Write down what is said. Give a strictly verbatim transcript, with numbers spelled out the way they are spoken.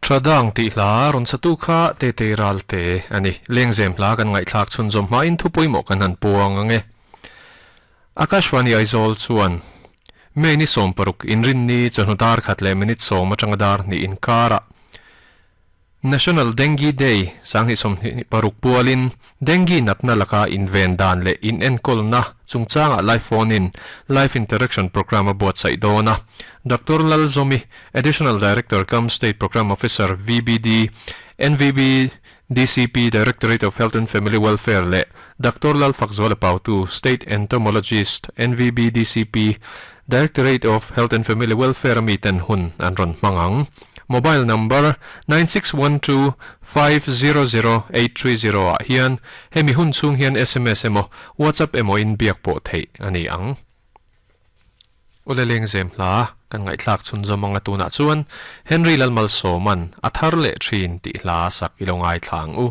Thadang tih hla rawn satu kha Tetei Ralte a ni. Lengzem hla kan ngaihthlak chhunzawm hmain thu pawimawh kan han puang ang e. Akashvani Aizawl chuan May ni sawm paruk inrinni chawhnu dar khat leh minute sawm atanga dar hnih inkarah National Dengue Day Sanghnih sawmhnih paruk pualin Dengue natna laka inven dan leh inenkawlna chungchangah live phone in live interaction program a buatsaih dawn a. Doctor Lalzomi, Additional Director cum State Program Officer V B D, N V B D C P Directorate of Health and Family Welfare leh Doctor Lalfakzuala Pautu, State Entomologist N V B D C P Directorate of Health and Family Welfare ami ten hun an rawn hmang ang. Mobile number nine six one two five zero zero eight three zero ah hian hemi hun chhung hian S M S emaw WhatsApp emaw in biak pawh theih a ni ang. Awle lengzem hla kan ngaihthlak chhunzawm anga tunah chuan Henry Lalmalsawman a thar leh thin tih hla sak i lo ngaithla ang u.